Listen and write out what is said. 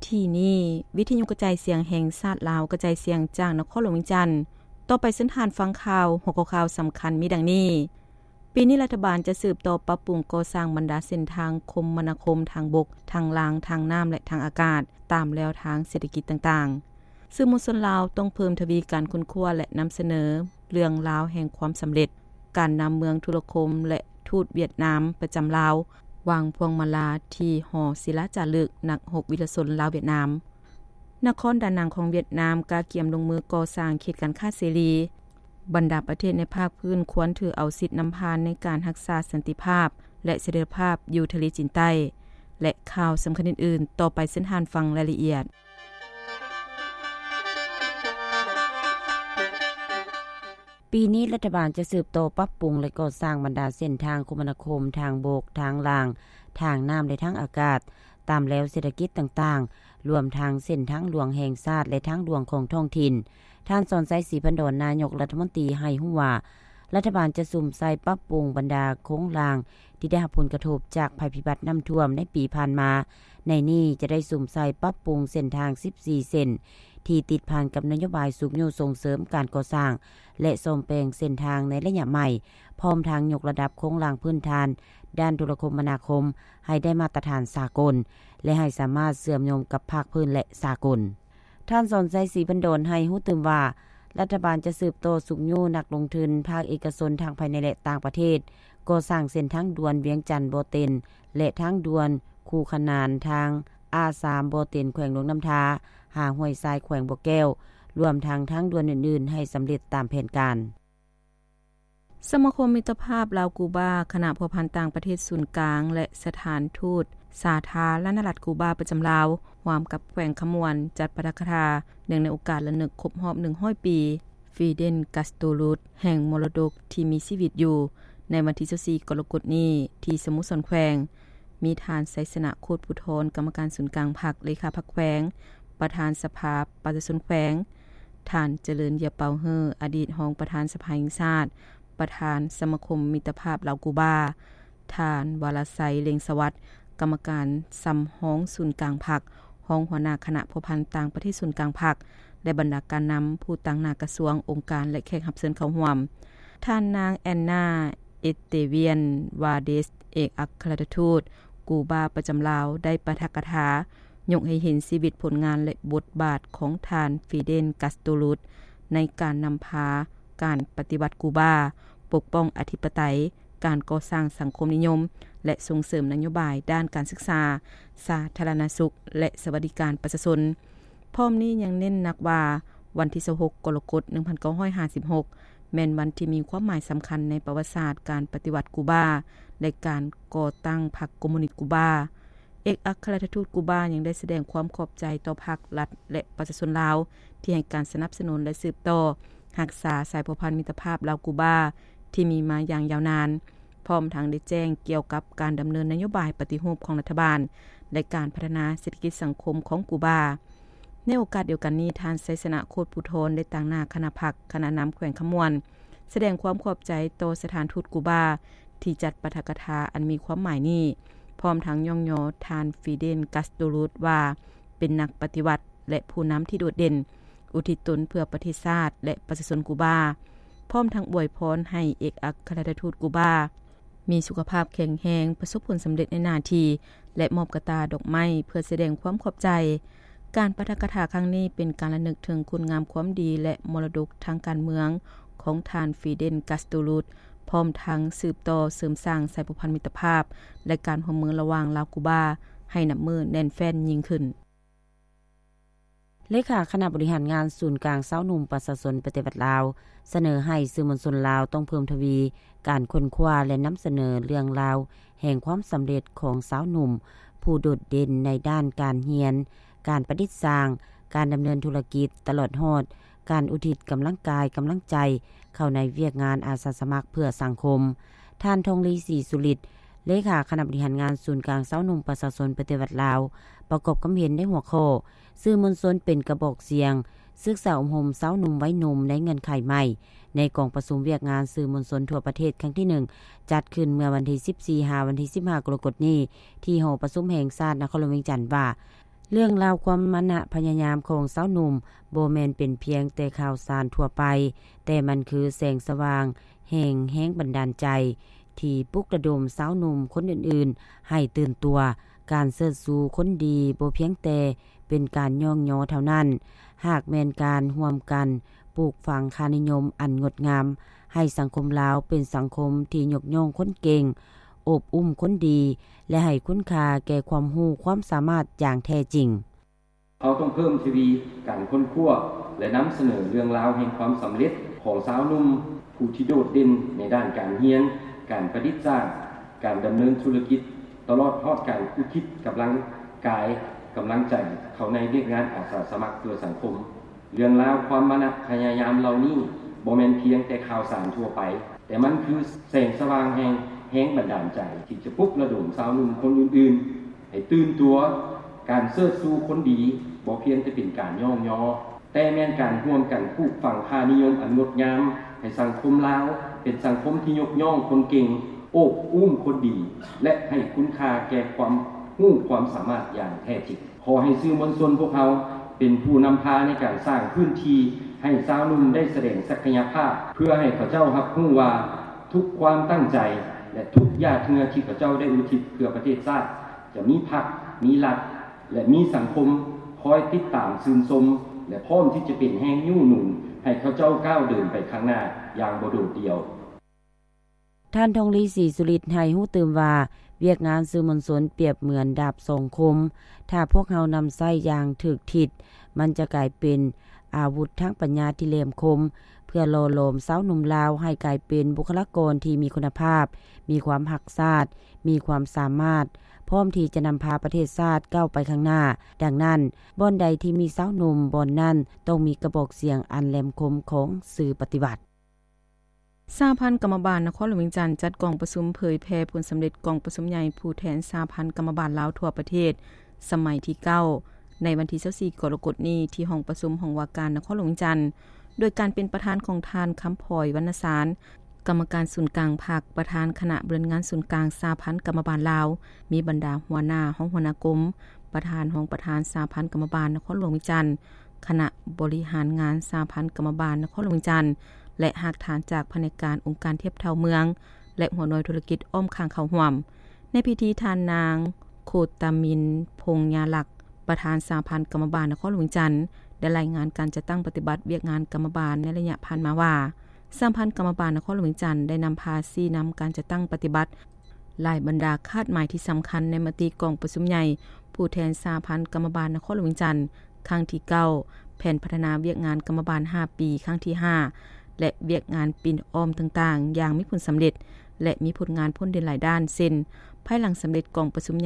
ທີ່ນີ້ ວິທະຍຸກະຈາຍສຽງແຫ່ງຊາດລາວ ກະຈາຍສຽງຈາກນະຄອນຫຼວງວຽງຈັນ. ຕໍ່ໄປເຊີນທ່ານຟັງຂ່າວ. ຫົວຂໍ້ຂ່າວສຳຄັນມີດັ່ງນີ້: ປີນີ້ລັດຖະບານຈະສືບຕໍ່ປັບປຸງກໍ່ສ້າງບັນດາເສັ້ນທາງຄົມມະນາຄົມທາງບົກ, ທາງລາງ, ທາງນ້ຳ ແລະ ທາງອາກາດ ຕາມແລວທາງເສດຖະກິດຕ່າງໆ. ສື່ມວນຊົນລາວຕ້ອງເພີ່ມທະວີການຄົ້ນຄວ້າ ແລະ ນຳສະເໜີເລື່ອງລາວແຫ່ງຄວາມສຳເລັດ ການນຳເມືອງທຸລະຄົມ ແລະ ທູດຫວຽດນາມປະຈຳລາວ ວາງພວງມາລາທີ່ຫໍສິລາຈາລຶກນັກຮົບວິລະຊົນລາວ-ຫວຽດນາມ. ນະຄອນດານັງຂອງຫວຽດນາມກະກຽມລົງມືກໍ່ສ້າງເຂດການຄ້າເສລີ. ບັນດາປະເທດໃນພາກພື້ນຄວນຖືເອົາສິດນຳຜ່ານໃນການຮັກສາສັນຕິພາບ ແລະ ສະເຖັຍລະພາບຢູ່ທະເລຈີນໃຕ້ ແລະ ຂ່າວສຳຄັນອື່ນໆ. ຕໍ່ໄປເຊີນທ່ານຟັງລາຍລະອຽດ. ປີນີ້ລັດຖະບານຈະສືບຕໍ່ປັບປຸງ ແລະ ກໍ່ສ້າງບັນດາເສັ້ນທາງຄົມມະນາຄົມທາງບົກ, ທາງລາງ, ທາງນ້ຳ ແລະ ທາງອາກາດ ຕາມແລວເສດຖະກິດຕ່າງໆ, ລວມທັງເສັ້ນທາງຫຼວງແຫ່ງຊາດ ແລະ ທາງຫຼວງຂອງທ້ອງຖິ່ນ. ທ່ານ ສອນໄຊ ສີພັນດອນ ນາຍົກລັດຖະມົນຕີ ໃຫ້ຮູ້ວ່າ ລັດຖະບານຈະສຸມໃສ່ປັບປຸງບັນດາໂຄງລ່າງ ທີ່ໄດ້ຮັບຜົນກະທົບຈາກໄພພິບັດນ້ຳຖ້ວມໃນປີຜ່ານມາ. ໃນນີ້ຈະໄດ້ສຸມໃສ່ປັບປຸງເສັ້ນທາງສິບສີ່ເສັ້ນ ທີ່ຕິດພັນກັບນະໂຍບາຍຊຸກຍູ້ສົ່ງເສີມການກໍ່ສ້າງ ແລະ ສ້ອມແປງເສັ້ນທາງໃນໄລຍະໃໝ່, ພ້ອມທັງຍົກລະດັບໂຄງລ່າງພື້ນຖານດ້ານໂທລະຄົມມະນາຄົມໃຫ້ໄດ້ມາດຕະຖານສາກົນ ແລະ ໃຫ້ສາມາດເຊື່ອມໂຍງກັບພາກພື້ນ ແລະ ສາກົນ. ທ່ານ ສອນໄຊ ສີພັນດອນ ໃຫ້ຮູ້ຕື່ມວ່າ ລັດຖະບານຈະສືບຕໍ່ຊຸກຍູ້ນັກລົງທຶນພາກເອກະຊົນທັງພາຍໃນ ແລະ ຕ່າງປະເທດ ກໍ່ສ້າງເສັ້ນທາງດ່ວນວຽງຈັນ-ບໍ່ເຕັນ ແລະ ທາງດ່ວນຄູ່ຂະໜານທາງ ອາສາມ ບໍ່ເຕັນ ແຂວງຫຼວງນ້ຳທາ ຫາຫ້ວຍຊາຍ ແຂວງບໍ່ແກ້ວ ລວມທັງທາງດ່ວນອື່ນໆ ໃຫ້ສຳເລັດຕາມແຜນການ. ສະມາຄົມມິດຕະພາບລາວ-ກູບາ, ຄະນະພົວພັນຕ່າງປະເທດສູນກາງ ແລະ ສະຖານທູດສາທາລະນະລັດກູບາປະຈຳລາວ ຮ່ວມກັບແຂວງຄຳມ່ວນ ຈັດປາຖະກະຖາ ເນື່ອງໃນໂອກາດລຳລຶກຄົບຮອບໜຶ່ງຮ້ອຍປີ ຟີເດນ ກາສໂຕລຸດ ແຫ່ງມໍລະດົກທີ່ມີຊີວິດຢູ່ ໃນວັນທີຊາວສີ່ ກໍລະກົດນີ້ ທີ່ສະໂມສອນແຂວງ. ມີທ່ານ ໄຊຊະນະ ໂຄດພູທອນ ກຳມະການສູນກາງພັກ, ເລຂາພັກແຂວງ, ປະທານສະພາປະຊາຊົນແຂວງ, ທ່ານ ຈະເລີນ ຢາເປົາເຮີ່ ອະດີດຮອງປະທານສະພາແຫ່ງຊາດ, ປະທານສະມາຄົມມິດຕະພາບລາວ-ກູບາ, ທ່ານ ວາລະໄຊ ເລັງສະຫວັດ ກຳມະການສຳຮອງສູນກາງພັກ, ຮອງຫົວໜ້າຄະນະພົວພັນຕ່າງປະເທດສູນກາງພັກ ແລະ ບັນດາການນຳຜູ້ຕາງໜ້າກະຊວງ, ອົງການ ແລະ ແຂກຮັບເຊີນເຂົ້າຮ່ວມ. ທ່ານນາງ ແອນນາ ເອສເຕວຽນ ວາເດສ ເອກອັກຄະລັດຖະທູດກູບາປະຈຳລາວ ໄດ້ປາຖະກະຖາ ຍົກໃຫ້ເຫັນຊີວິດ, ຜົນງານ ແລະ ບົດບາດຂອງທ່ານ ຟີເດນ ກາສໂຕລຸດ ໃນການນຳພາການປະຕິວັດກູບາ, ປົກປ້ອງອະທິປະໄຕ, ການກໍ່ສ້າງສັງຄົມນິຍົມ ແລະ ສົ່ງເສີມນະໂຍບາຍດ້ານການສຶກສາ, ສາທາລະນະສຸກ ແລະ ສະຫວັດດີການປະຊາຊົນ. ພ້ອມນີ້ຍັງເນັ້ນໜັກວ່າ ວັນທີຊາວຫົກ ກໍລະກົດ ໜຶ່ງພັນເກົ້າຮ້ອຍຫ້າສິບຫົກ ແມ່ນວັນທີ່ມີຄວາມໝາຍສຳຄັນໃນປະຫວັດສາດການປະຕິວັດກູບາ ແລະ ການກໍ່ຕັ້ງພັກຄອມມູນິດກູບາ. ເອກອັກຄະລັດຖະທູດກູບາຍັງໄດ້ສະແດງຄວາມຂອບໃຈຕໍ່ພັກ, ລັດ ແລະ ປະຊາຊົນລາວ ທີ່ໃຫ້ການສະໜັບສະໜູນ ແລະ ສືບຕໍ່ຮັກສາສາຍພົວພັນມິດຕະພາບລາວ-ກູບາ ທີ່ມີມາຢ່າງຍາວນານ, ພ້ອມທັງໄດ້ແຈ້ງກ່ຽວກັບການດຳເນີນນະໂຍບາຍປະຕິຮູບຂອງລັດຖະບານ ແລະ ການພັດທະນາເສດຖະກິດສັງຄົມຂອງກູບາ. ໃນໂອກາດດຽວກັນນີ້, ທ່ານ ໄຊຊະນະ ໂຄດພູທອນ ໄດ້ຕາງໜ້າຄະນະພັກ, ຄະນະນຳແຂວງຄຳມ່ວນ ສະແດງຄວາມຂອບໃຈຕໍ່ສະຖານທູດກູບາ ທີ່ຈັດປາຖະກະຖາອັນມີຄວາມໝາຍນີ້, ພ້ອມທັງຍ້ອງຍໍທ່ານ ຟີເດນ ກາສໂຕລຸດ ວ່າເປັນນັກປະຕິວັດ ແລະ ຜູ້ນຳທີ່ໂດດເດັ່ນ, ອຸທິດຕົນເພື່ອປະເທດຊາດ ແລະ ປະຊາຊົນກູບາ, ພ້ອມທັງອວຍພອນໃຫ້ເອກອັກຄະລັດຖະທູດກູບາ ມີສຸຂະພາບແຂງແຮງ, ປະສົບຜົນສຳເລັດໃນໜ້າທີ່ ແລະ ມອບກະຕ່າດອກໄມ້ເພື່ອສະແດງຄວາມຂອບໃຈ. ການປາຖະກະຖາຄັ້ງນີ້ເປັນການລະນຶກເຖິງຄຸນງາມຄວາມດີ ແລະ ມໍລະດົກທາງການເມືອງຂອງທ່ານ ຟີເດນ ກາສໂຕລຸດ, ພ້ອມທັງສືບຕໍ່ເສີມສ້າງສາຍພົວພັນມິດຕະພາບ ແລະ ການຮ່ວມມືລະຫວ່າງລາວ-ກູບາ ໃຫ້ນັບມື້ແໜ້ນແຟ້ນຍິ່ງຂຶ້ນ. ເລຂາຄະນະບໍລິຫານງານສູນກາງຊາວໜຸ່ມປະຊາຊົນປະຕິວັດລາວ ສະເໜີໃຫ້ສື່ມວນຊົນລາວຕ້ອງເພີ່ມທະວີການຄົ້ນຄວ້າ ແລະ ນຳສະເໜີເລື່ອງລາວແຫ່ງຄວາມສຳເລັດຂອງຊາວໜຸ່ມຜູ້ໂດດເດັ່ນໃນດ້ານການຮຽນ, ການປະດິດສ້າງ, ການດຳເນີນທຸລະກິດ, ຕະຫຼອດຮອດການອຸທິດກຳລັງກາຍ, ກຳລັງໃຈເຂົ້າໃນວຽກງານອາສາສະໝັກເພື່ອສັງຄົມ. ທ່ານ ທອງລີ ສີສຸລິດ ເລຂາຄະນະບໍລິຫານງານສູນກາງຊາວໜຸ່ມປະຊາຊົນປະຕິວັດລາວ ປະກອບຄຳເຫັນໃນຫົວຂໍ້ ສື່ມວນຊົນເປັນກະບອກສຽງ, ສຶກສາອົບຮົມຊາວໜຸ່ມໄວໜຸ່ມໃນເງື່ອນໄຂໃໝ່ ໃນກອງປະຊຸມວຽກງານສື່ມວນຊົນທົ່ວປະເທດຄັ້ງທີໜຶ່ງ ຈັດຂຶ້ນເມື່ອວັນທີສິບສີ່ ຫາວັນທີສິບຫ້າ ກໍລະກົດນີ້ ທີ່ຫໍປະຊຸມແຫ່ງຊາດນະຄອນຫຼວງວຽງຈັນວ່າ ເລື່ອງລາວຄວາມມານະພະຍາຍາມຂອງຊາວໜຸ່ມ ບໍ່ແມ່ນເປັນພຽງແຕ່ຂ່າວສານທົ່ວໄປ, ແຕ່ມັນຄືແສງສະຫວ່າງແຫ່ງແຮງບັນດານໃຈ ທີ່ປຸກລະດົມຊາວໜຸ່ມຄົນອື່ນໆໃຫ້ຕື່ນຕົວ. ການເຊີດຊູຄົນດີບໍ່ພຽງແຕ່ເປັນການຍ້ອງຍໍເທົ່ານັ້ນ, ຫາກແມ່ນການຮ່ວມກັນປູກຝັງຄ່ານິຍົມອັນງົດງາມ ໃຫ້ສັງຄົມລາວເປັນສັງຄົມທີ່ຍົກຍ້ອງຄົນເກັ່ງ, ໂອບອຸ້ມຄົນດີ ແລະ ໃຫ້ຄຸນຄ່າແກ່ຄວາມຮູ້ຄວາມສາມາດຢ່າງແທ້ຈິງ. ເຮົາຕ້ອງເພີ່ມທະວີການຄົ້ນຄວ້າ ແລະ ນຳສະເໜີເລື່ອງລາວແຫ່ງຄວາມສຳເລັດຂອງຊາວໜຸ່ມຜູ້ທີ່ໂດດເດັ່ນໃນດ້ານການຮຽນ, ການປະດິດສ້າງ, ການດຳເນີນທຸລະກິດ, ຕະຫຼອດຮອດການອຸທິດກຳລັງກາຍ, ກຳລັງໃຈເຂົ້າໃນວຽກງານອາສາສະໝັກເພື່ອສັງຄົມ. ເລື່ອງລາວຄວາມມານະພະຍາຍາມເຫຼົ່ານີ້ ບໍ່ແມ່ນພຽງແຕ່ຂ່າວສານທົ່ວໄປ, ແຕ່ມັນຄືແສງສະຫວ່າງແຫ່ງແຮງບັນດານໃຈ ທີ່ຈະປຸກລະດົມຊາວໜຸ່ມຄົນອື່ນໆໃຫ້ຕື່ນຕົວ. ການເຊີດຊູຄົນດີບໍ່ພຽງແຕ່ເປັນການຍ້ອງຍໍ, ແຕ່ແມ່ນການຮ່ວມກັນປູກຝັງຄ່ານິຍົມອັນງົດງາມ ໃຫ້ສັງຄົມລາວເປັນສັງຄົມທີ່ຍົກຍ້ອງຄົນເກັ່ງ, ໂອບອຸ້ມຄົນດີ ແລະ ໃຫ້ຄຸນຄ່າແກ່ຄວາມຮູ້ຄວາມສາມາດຢ່າງແທ້ຈິງ. ຂໍໃຫ້ສື່ມວນຊົນພວກເຮົາເປັນຜູ້ນຳພາໃນການສ້າງພື້ນທີ່ໃຫ້ຊາວໜຸ່ມໄດ້ສະແດງສັກກະຍະພາບ, ເພື່ອໃຫ້ເຂົາເຈົ້າຮັບຮູ້ວ່າທຸກຄວາມຕັ້ງໃຈ ແລະ ທຸກຫຍາດເຫື່ອທີ່ເຂົາເຈົ້າໄດ້ອຸທິດເພື່ອປະເທດຊາດ ຈະມີພັກ, ມີລັດ ແລະ ມີສັງຄົມຄອຍຕິດຕາມຊື່ນຊົມ ແລະ ພ້ອມທີ່ຈະເປັນແຮງຍູ້ໜູນໃຫ້ເຂົາເຈົ້າກ້າວເດີນໄປຂ້າງໜ້າຢ່າງບໍ່ໂດດດ່ຽວ. ທ່ານ ທອງລີ ສີສຸລິດ ໃຫ້ຮູ້ຕື່ມວ່າ ວຽກງານສື່ມວນຊົນປຽບເໝືອນດາບສອງຄົມ. ຖ້າພວກເຮົານຳໃຊ້ຢ່າງຖືກທິດ, ມັນຈະກາຍເປັນອາວຸດທາງປັນຍາທີ່ແຫຼມຄົມ ເພື່ອຫຼໍ່ຫຼອມຊາວໜຸ່ມລາວໃຫ້ກາຍເປັນບຸກຄະລາກອນທີ່ມີຄຸນນະພາບ, ມີຄວາມຮັກຊາດ, ມີຄວາມສາມາດ, ພ້ອມທີ່ຈະນຳພາປະເທດຊາດກ້າວໄປຂ້າງໜ້າ. ດັ່ງນັ້ນ, ບ່ອນໃດທີ່ມີຊາວໜຸ່ມ, ບ່ອນນັ້ນຕ້ອງມີກະບອກສຽງອັນແຫຼມຄົມຂອງສື່ປະຕິວັດ. ສະຫະພັນກຳມະບານນະຄອນຫຼວງວຽງຈັນ ຈັດກອງປະຊຸມເຜີຍແຜ່ຜົນສຳເລັດກອງປະຊຸມໃຫຍ່ຜູ້ແທນສະຫະພັນກຳມະບານລາວທົ່ວປະເທດ ສະໄໝທີເກົ້າ ໃນວັນທີຊາວສີ່ ກໍລະກົດນີ້ ທີ່ຫ້ອງປະຊຸມຫ້ອງວ່າການນະຄອນຫຼວງວຽງຈັນ ໂດຍການເປັນປະທານຂອງທ່ານ ຄຳພອຍ ວັນນະສານ ກຳມະການສູນກາງພັກ, ປະທານຄະນະບໍລິຫານງານສູນກາງສະຫະພັນກຳມະບານລາວ, ມີບັນດາຫົວໜ້າ, ຮອງຫົວໜ້າກົມ, ປະທານ, ຮອງປະທານສະຫະພັນກຳມະບານນະຄອນຫຼວງວຽງຈັນ, ຄະນະບໍລິຫານງານສະຫະພັນກຳມະບານນະຄອນຫຼວງວຽງຈັນ ແລະ ຮາກຖານຈາກພະແນກການອົງການທຽບເທົ່າເມືອງ ແລະ ຫົວໜ່ວຍທຸລະກິດອ້ອມຂ້າງເຂົ້າຮ່ວມ. ໃນພິທີ ທ່ານນາງ ໂຄຕາມິນ ພົງຍາລັກ ປະທານສະຫະພັນກຳມະບານນະຄອນຫຼວງວຽງຈັນ ໄດ້ລາຍງານການຈັດຕັ້ງປະຕິບັດວຽກງານກຳມະບານໃນໄລຍະຜ່ານມາວ່າ, ສະຫະພັນກຳມະບານນະຄອນຫຼວງວຽງຈັນ ໄດ້ນຳພາຊີ້ນຳການຈັດຕັ້ງປະຕິບັດ ຫຼາຍບັນດາຄາດໝາຍທີ່ສຳຄັນໃນມະຕິກອງປະຊຸມໃຫຍ່ຜູ້ແທນສະຫະພັນກຳມະບານນະຄອນຫຼວງວຽງຈັນ ຄັ້ງທີເກົ້າ, ແຜນພັດທະນາວຽກງານກຳມະບານຫ້າປີ ຄັ້ງທີຫ້າ ແລະ ວຽກງານປິ່ນອ້ອມຕ່າງໆ ຢ່າງມີຜົນສຳເລັດ ແລະ ມີຜົນງານພົ້ນເດັ່ນຫຼາຍດ້ານ ເຊັ່ນ ພາຍຫຼັງສຳເລັດກອງປະຊຸມໃ